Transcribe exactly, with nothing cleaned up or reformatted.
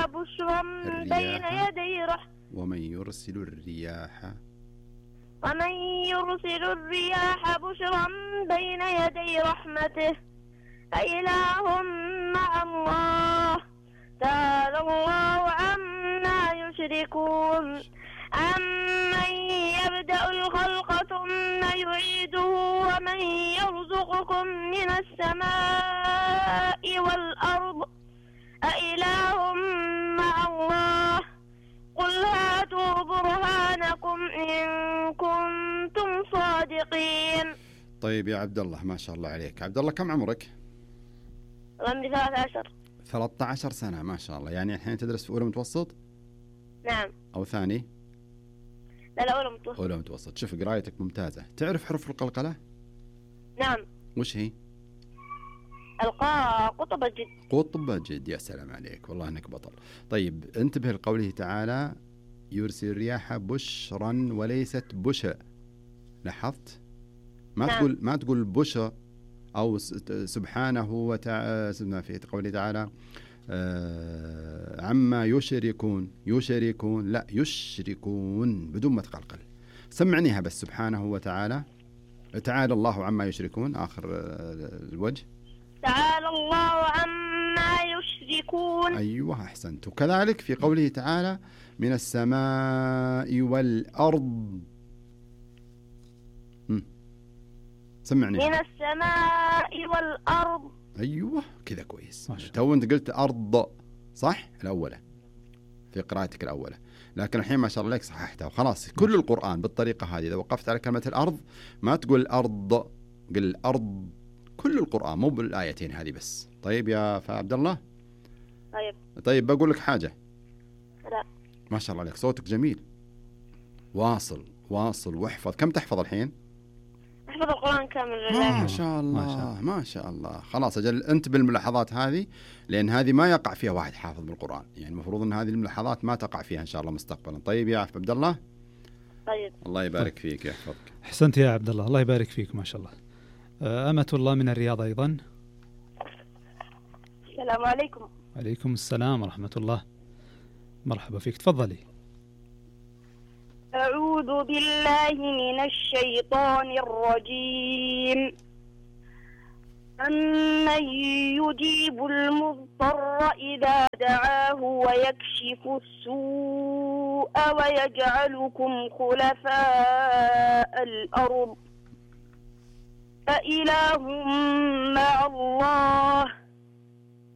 بشرا بين يدي رحمته ومن يرسل الرياح ومن يرسل الرياح بشرا بين يدي رحمته أإله مع الله تعالى الله عما يشركون أمن يبدأ الخلق ثم يعيده ومن يرزقكم من السماء والأرض أإله مع الله قل هاتوا برهانكم إن كنتم صادقين. طيب يا عبد الله، ما شاء الله عليك. عبد الله كم عمرك؟ عمري ثلاثة عشر. ثلاثة عشر سنة، ما شاء الله. يعني الحين تدرس في أولى متوسط؟ نعم. أو ثاني؟ لا لا أولى متوسط. أولى متوسط. شوف قرايتك ممتازة. تعرف حروف القلقلة؟ نعم. وش هي؟ القاء قطب الجد. قطب الجد، يا سلام عليك، والله انك بطل. طيب انتبه لقوله تعالى يرسل الرياح بشرا وليست بشا. لاحظت؟ ما نعم. تقول ما تقول بشا او سبحانه وتعالى في قوله تعالى آه عما يشركون يشركون، لا يشركون بدون ما تقلقل. سمعنيها بس. سبحانه وتعالى تعالى الله عما يشركون آخر الوجه. تعالى الله عما يشركون. أيوة أحسنت. وكذلك في قوله تعالى من السماء والأرض. م. سمعني. من السماء والأرض. أيوة كذا كويس. تو أنت قلت أرض صح الأولى في قراءتك الأولى، لكن الحين ما شاء الله عليك صححتها وخلاص. كل القرآن بالطريقة هذه. إذا وقفت على كلمة الأرض ما تقول الأرض، قل الأرض. كل القرآن مو بالآيتين هذه بس. طيب يا عبد الله. طيب. طيب بقول لك حاجة. لا. ما شاء الله عليك صوتك جميل. واصل واصل واحفظ. كم تحفظ الحين؟ أحفظ القرآن كامل. ما شاء الله ما شاء الله, ما شاء الله. خلاص أجل أنت بالملاحظات هذه، لأن هذه ما يقع فيها واحد حافظ بالقرآن. يعني المفروض أن هذه الملاحظات ما تقع فيها إن شاء الله مستقبلا. طيب يا عبد الله. طيب. الله يبارك فيك يحفظك. أحسنت يا عبد الله، الله يبارك فيك ما شاء الله. أمة الله من الرياض أيضا. السلام عليكم. عليكم السلام ورحمة الله. مرحبا فيك، تفضلي. أعوذ بالله من الشيطان الرجيم. أمن يجيب المضطر إذا دعاه ويكشف السوء ويجعلكم خلفاء الأرض أإله مع الله